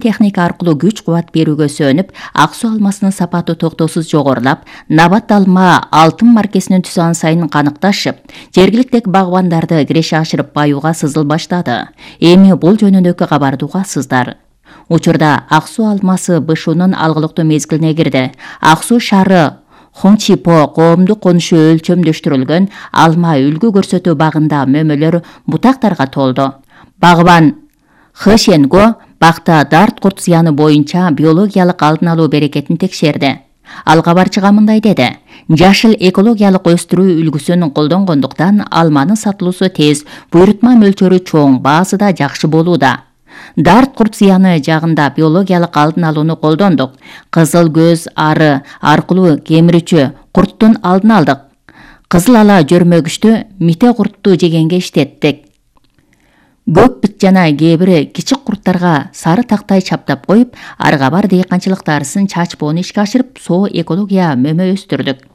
техника аркылуу күч кубат берүүгө сөөнүп, ак суу алмасынын сапаты токтоосуз жогорулап, Набат алма алтын маркесинин түсү ан сайын каныкташып, жергиликтеги багбандарды киреше ашырып баюуга сызыл баштады. Эми бул жөнүндөгү кабарды угасыздар. Учурда ак суу алмасы БШУнун алгылыктуу мезгилине кирди. Ак суу шаары Хончипо коомдук конушу өлчөмдөштүрүлгөн алма үлгү көрсөтүү багында мөмөлөр бутактарга толду. Багбан Хэшенго бакта дарт курт зыяны боюнча биологиялык алдын алуу берекетин текшерди. Ал кабарчыга мындай деди: жашыл экологиялык өстүрүү үлгүсүн колдонгондуктан алманын сатылуусу тез, буйрутма мөлчөрү чоң, баасы да жакшы болууда. Дарт курт зыяны жагында биологиялык алдын алууну колдондук. Кызыл көз ары аркылуу кемирүүчү курттун алдын алдык. Кызыл ала жөрмөгүчтү мите куртту жегенге иштеттик. Көк бит жана кээ бир кичик курттарга сары тактай чаптап коюп, арга бар дыйканчылык дарысын чачпоону ишке ашырып, соо экология мөмө өстүрдүк.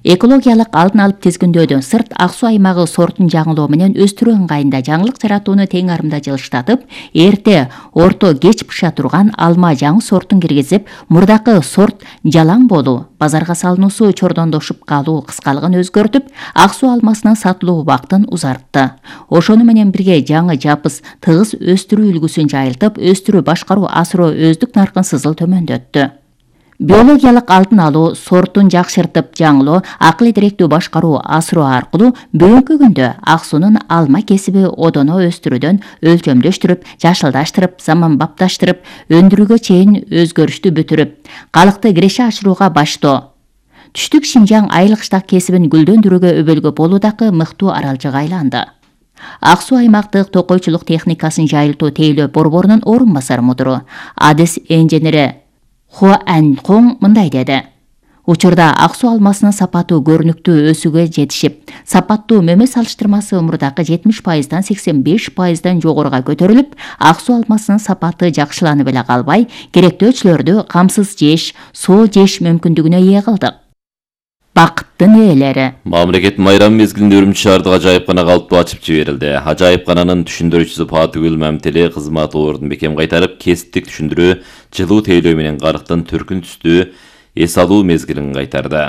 Экологиялык алдын алып тизгиндөөдөн сырт ак суу аймагы сортун жаңылоо менен өстүрүү ыңгайында жаңылык жаратууну тең арымда жылыштатып, эрте, орто, кеч быша турган алма жаңы сортун киргизип, мурдакы сорт жалаң болуу, базарга салынуусу чордондошуп калуу кыскалыгын өзгөртүп, ак суу алмасынын сатылуу убактын узартты. Ошону менен бирге жаңы жапыс тыгыз өстүрүү үлгүсүн жайылтып, өстүрүү башкаруу асыроо өздүк наркын сызыл төмөндөттү. Биологиялык алдын алуу, сортун жакшыртып жаңылоо, акыл идиректүү башкаруу асыроо аркылуу бүгүнкү күндө ак суунун алма кесиби одоно өстүрүүдөн өлчөмдөштүрүп, жашылдаштырып, заманбапташтырып, өндүрүүгө чейин өзгөрүштү бүтүрүп, калыкты киреше ашырууга баштоо. Түштүк Шинжаң айыл кыштак кесибин гүлдөндүрүүгө өбөлгө болуудагы мыктуу аралжыга айланды. Ак суу аймактык токойчулук техникасын жайылтуу тейлөө борборунун орун басар мудуру, адис инженери Хуа Анькоң мындай деди: учурда ак суу алмасынын сапаты көрүнүктүү өсүүгө жетишип, сапаттуу мөмө салыштырмасы мурдакы 70%дан 85%дан жогоруга көтөрүлүп, ак суу алмасынын сапаты жакшыланып эле калбай, керектөөчүлөрдү камсыз жеш, соо жеш мүмкүндүгүнө ээ кылдык. Бакыттын ээлери. Мамлекет майрам мезгилинде Үрүмчү шаардык ажайыпкана калыптуу ачып жиберилди. Ажайыпкананын түшүндүрүүчүсү Патыгүл Мамтели кызмат ордун бекем кайтарып, кесиптик түшүндүрүү, жылуу тейлөө менен карыктын түркүн түстүү эс алуу мезгилин кайтарды.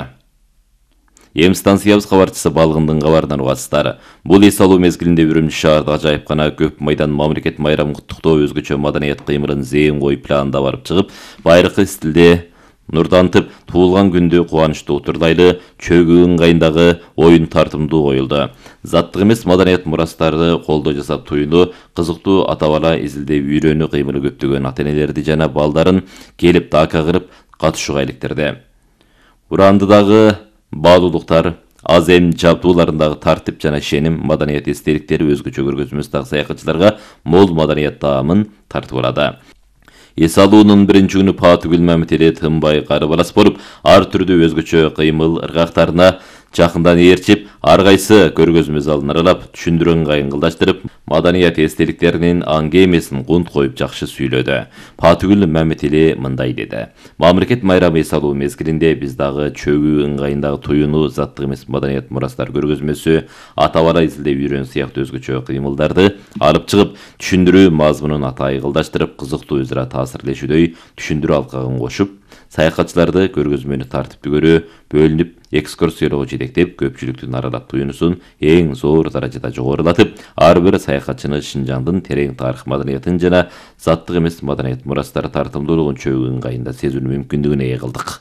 Эм станциябыз кабарчысы Балгындын кабарынан угасыздар. Бул эс алуу мезгилинде Үрүмчү шаардык ажайыпкана көп майдан мамлекет майрамын куттуктоо өзгөчө маданият кыймылын зээн коюп планда барып чыгып, байыркы стилде нурдантып, туулган күндү кубанычтуу утурлайлы, чөгүү ыңгайындагы оюн тартымдуу коюлду. Заттык эмес маданият мурастарды колдоо жасап туюну, кызыктуу ата-бала изилдеп үйрөнүү кыймылы көптөгөн ата-энелерди жана балдарын келип дака кырып катышууга иликтирди. Урандыдагы баалуулуктар, аз эм жабдууларындагы тартип жана ишеним, маданият эстеликтери өзгөчө көргөзмөсүндагы саякатчыларга мол маданият таамын тартып алады. Эс алуунун биринчи күнү Патыгүл Мамтели тынбай карыбалас болуп, ар түрдүү өзгөчө кыймыл ыргактарына жакындан ээрчип, ар кайсы көргөзмө залын аралап, түшүндүрүү ыңгайын кылдаштырып, маданият эстеликтеринин аңге эмесин кунт коюп жакшы сүйлөдү. Патыгүл Мамтели мындай деди: мамлекет майрамы эс алуу мезгилинде биз дагы чөгүү ыңгайындагы туюну, заттык эмес маданият мурастар көргөзмөсү, ата-бала изилдеп үйрөн сыяктуу өзгөчө кыймылдарды алып чыгып, түшүндүрүү мазмунун атайы кылдаштырып, кызыктуу өзара таасирлешүүдөй түшүндүрүү алкагын кошуп, саякатчыларды көргөзмөнү тартиптүү көрүү, бөлүнүп, экскурсиялоого жетектеп, көпчүлүктүн аралап туюнусун эң зор даражада жогорулатып, ар бир саякатчыны Шинжаңдын терең тарых маданиятын жана заттык эмес маданият мурастары тартымдуулугун чөгүү ыңгайында сезүүнү мүмкүндүгүнө ээ кылдык.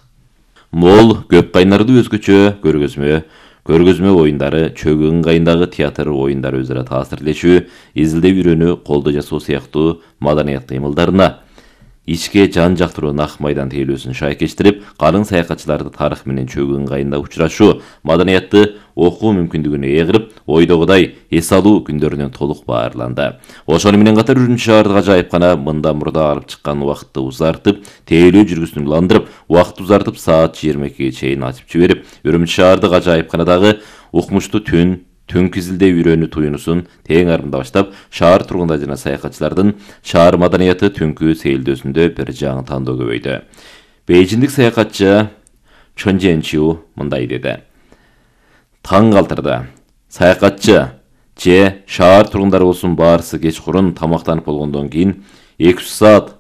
Мол, көп кайнардуу өзгөчө көргөзмө оюндары, чөгүү ыңгайындагы театр оюндары өзара таасирлешүү, изилдеп үйрөнүү, колдоо жасоо сыяктуу маданият кыймылдарына ичке жан жактыруу нак майдан тейлөөсүн шайкештирип, калың саякатчыларды тарых менен чөгүү ыңгайында учурашуу, маданиятты окуу мүмкүндүгүнө ээ кылып, ойдогудай эс алуу күндөрүнөн толук баарланды. Ошону менен катар Үрүмчү шаардык ажайыпкана мындан мурда алып чыккан убакытты узартып, тейлөө жүргүсүн уландырып, убакытты узартып саат 22ге чейин ачып жиберип, Үрүмчү шаардык ажайыпканадагы укмуштуу түнкү изилдөө үйрөнүү туюнусун тең арымда баштап, шаар тургундары жана саякатчылардын шаар маданияты түнкү сейилдөөсүндө бир жаңы тандоо көбөйдү. Бейжиндик саякатчы Чон Чжэнчиу мындай деди: таң калтырды. Саякатчы же шаар тургундары болсун баарысы кечкурун тамактанып болгондон кийин 200 саат